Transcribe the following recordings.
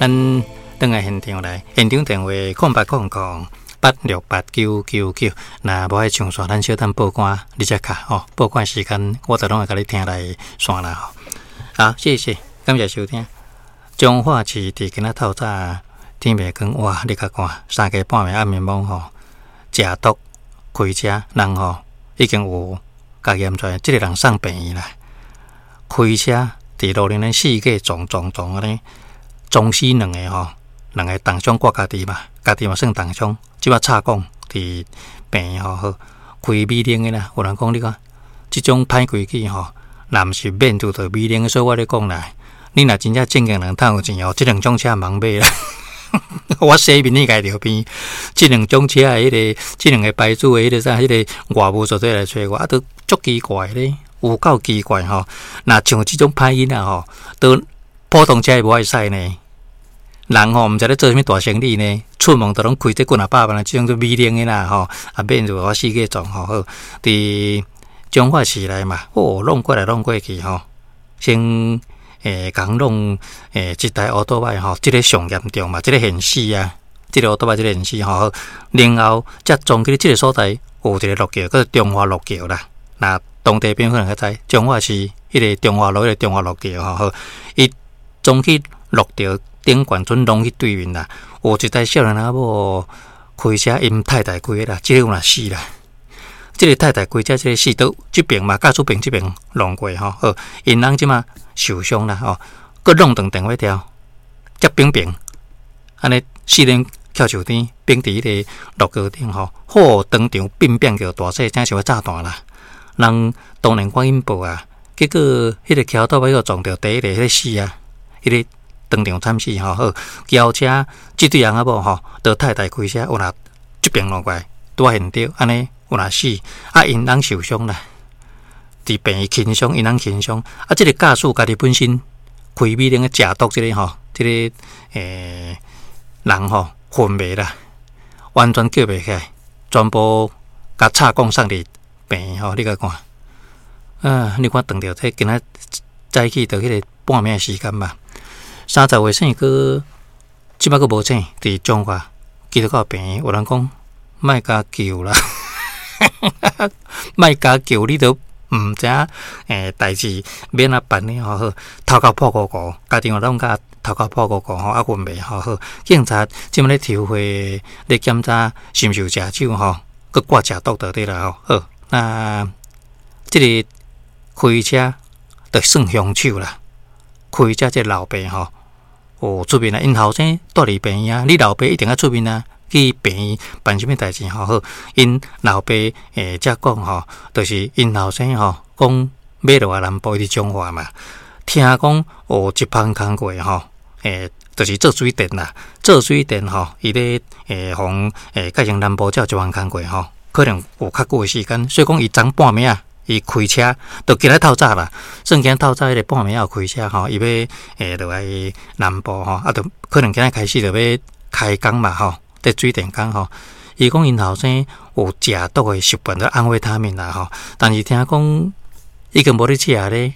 咱轉來現場來，現場電話0800868999。若無愛上線，咱小等報官你才敲吼。報官時間我就攏會共你聽來線啦吼。好，謝謝，感謝收聽。彰化市佇今仔透早天袂光，哇！你共看，三更半暝暗暝暝吼，食毒開車人吼已經有共驗出來，這個人送病院啦。開車佇路頂咧四界撞撞撞按呢，撞死兩个吼，兩个重傷掛家己嘛，家己嘛算重傷。這擺插管佇病院吼，好開美玲的啦。有人講你看，這種歹規矩吼，若毋是免拄著美玲，所以我咧講啦，你若真正正經人趁有錢哦，這兩種車毋通買啦。我洗面你家著邊，這兩種車的彼个，這兩个牌子的彼个啥，彼个外務做伙來揣我，啊，都足奇怪咧，有夠奇怪吼。若像這種歹囡仔吼，都普通車會無愛駛呢。人吼毋知咧做啥物大生意呢，出門都攏開這幾若百萬的這種做美玲的啦吼，啊免就我四界撞吼好，佇彰化市內嘛，哦，弄過來弄過去吼，先。共弄一台烏托邦吼，這个上嚴重嘛，這个現死啊，這个烏托邦這个現死吼，然後才撞去這个所在有一个陸橋，叫做中華陸橋啦。若當地朋友可能較知，彰化市彼个中華路，彼个中華陸橋吼，好，伊撞去陸橋頂懸陣攏去對面啦，有一台少年仔某開車，𪜶太太開的啦，這个有若死啦。這个太太開車，這个死都這邊嘛，駕駛邊這邊弄過吼，好，𪜶翁這馬受傷啦吼，閣弄斷電話條，接冰冰，按呢四輪翹樹頂，冰佇彼个路橋頂吼，好當場變變叫大細聲像欲炸彈啦。人當然趕緊報啊，結果彼个橋頭尾閣撞著第一个彼个死啊，彼个當場慘死吼，好，轎車這對翁仔某吼，著太太開車有若這邊弄過來，拄仔現著按呢。有若死，啊，𪜶翁受傷啦，佇病院輕傷，𪜶翁輕傷。啊，這个駕駛家己本身開美玲的食毒這个吼，這个人吼昏迷啦，完全叫袂起來，全部共插管送佇病院吼，你共看，啊，你看撞著這今仔早起著彼个半暝的時間吧，30歲姓閣這擺閣無醒，佇彰化基督教病院，有人講莫共救啦。莫共救，你都毋知影欸，代誌欲按怎辦呢？吼好，頭殼破糊糊，家庭攏共頭殼破糊糊吼，啊，昏迷吼好。警察這馬咧籌會咧檢查，是毋是有食酒吼，閣掛食毒就對啦吼。好，那這个開車就算兇手啦。開車這个老爸吼，有出面啊，𪜶後生蹛佇病院啊，你老爸一定愛出面啊。去病院辦啥物代誌吼？好，𪜶老爸才講吼，就是𪜶後生吼講欲落來南部佇彰化嘛，聽講有一芳工課吼，就是做水電啦，做水電吼，伊咧予改成南部才有一芳工課吼，可能有較久的時間，所以講伊昨半暝啊，伊開車就今仔透早啦，算今仔透早彼个半暝仔有開車吼，伊欲落來南部吼，啊，就可能今仔開始就欲開工嘛吼。佇水電工吼，伊講𪜶後生有食毒的習慣，咧安非他命啦吼。但是聽講已經無咧食咧。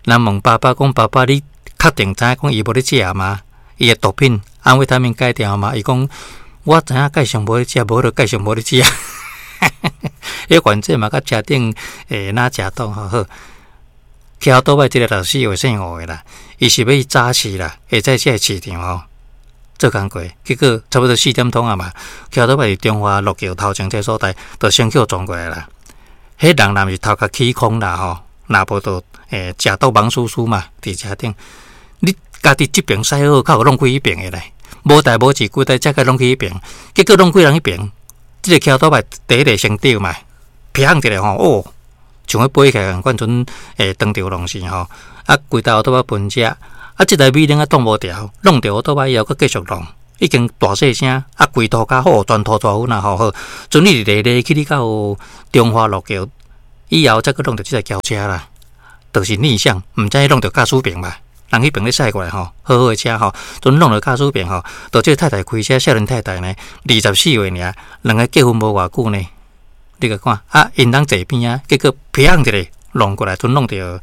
人問爸爸講：爸爸，你確定知影講伊無咧食嗎？伊的毒品安非他命戒掉嗎？伊講我知影繼續無咧食，無就繼續無咧食。彼反正嘛，佮車頂若食毒吼好。騎倒擺這个64歲姓吳的啦，伊是欲去早市啦，下早市市場吼。做工課，結果差不多四點鐘啊嘛，騎倒擺佇中華陸橋頭前這所在，就先去予撞過來啦。彼人若毋是頭殼起空啦吼，若無就食毒茫輸輸嘛，佇車頂，你家己這邊駛好，較有弄開彼邊的咧，無代無誌，規台車共弄去彼邊，結果弄幾人彼邊，這个騎倒擺第一个先著嘛，砰一个吼，哦，像欲飛起來仝款，陣當場攏是吼，啊，規台倒擺分車。啊！這台美玲仔擋無牢，弄著倒擺以後，閣繼續弄，已經大細聲，啊，規塗跤好全塗大粉啊！吼好，陣你來來去去到中華路橋以後，才閣弄著這台轎車啦，就是逆向，毋知弄著駕駛邊嘛？人彼邊咧駛過來吼，好好的車吼，陣弄著駕駛邊吼，就這個太太開車，少年太太呢，24歲爾，兩个結婚無偌久呢，你共看啊，𪜶翁坐邊仔，結果砰一个。弄過來，陣弄著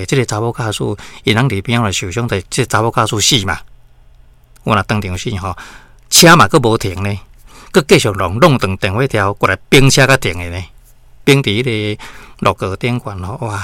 這个查某駕駛，𪜶翁佇邊仔來受傷，就這个查某駕駛死嘛。我若當場死吼，車嘛閣無停呢，閣繼續弄弄斷電火條過來冰車才停的呢，冰佇彼個路橋頂懸吼，哇！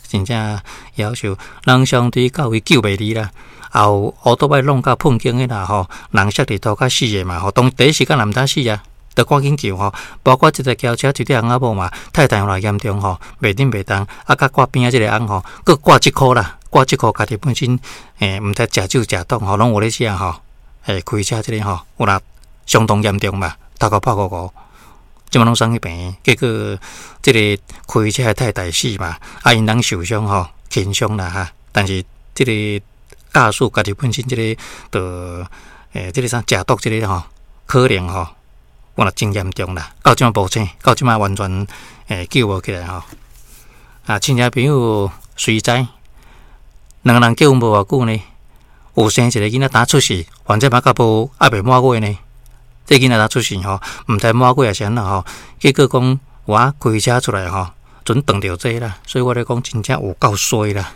真正夭壽，人相對到位救袂離啦。後烏多擺弄甲噴警的啦吼，人摔佇塗跤死的嘛吼，當第一時間也毋知死啊，著趕緊救吼。包括這個轎車一個翁仔某嘛，太太予來嚴重吼，袂振袂動，啊，佮掛邊仔這個翁吼，閣掛這箍啦，掛這箍家己本身毋知食酒食毒吼，攏有咧食吼，開車這個吼，有啦相當嚴重嘛，頭殼破糊糊。這馬攏送去病院，結果這個開車的太太死嘛，啊，𪜶人受傷吼，輕傷啦哈。但是這個駕駛家己本身這個著這個啥食毒這個吼，可能吼，原來真嚴重啦。到這馬無醒，到這馬完全救無起來吼。啊，親戚朋友隨知，兩个人結婚無偌久呢，有生一個囡仔當出世，反正嘛較無猶未滿月呢。這囡仔當出世吼，毋知滿月抑是按怎吼，結果講我開車出來吼，準撞著這啦，所以我咧講真正有夠衰啦。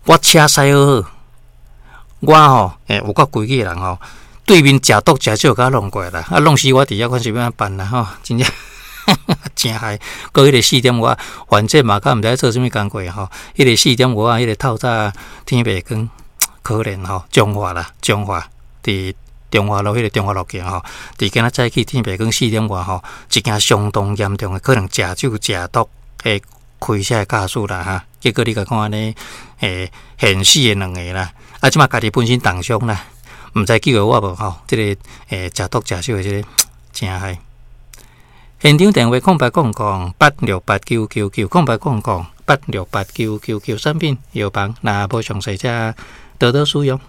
我車駛好好，我吼有夠規矩的人吼，對面食毒食酒共我弄過來啦，啊弄死我佇遐看是欲按怎辦啦吼，真正誠害。閣彼個四點外，反正嘛較毋知做啥物工課吼，彼個四點外，彼個透早天袂光，可憐吼，彰化啦，彰化佇中華路彼個中華路橋吼，佇今仔早起天袂光四點外吼，一件相當嚴重的可能食酒食毒的開車的駕駛啦哈，結果你共看按呢，現死的兩个啦，啊，這馬家己本身重傷啦，毋知救會活無吼，這個食毒食酒的這個誠害。現場電話08008689990800868999，產品藥房，若無詳細才多多使用。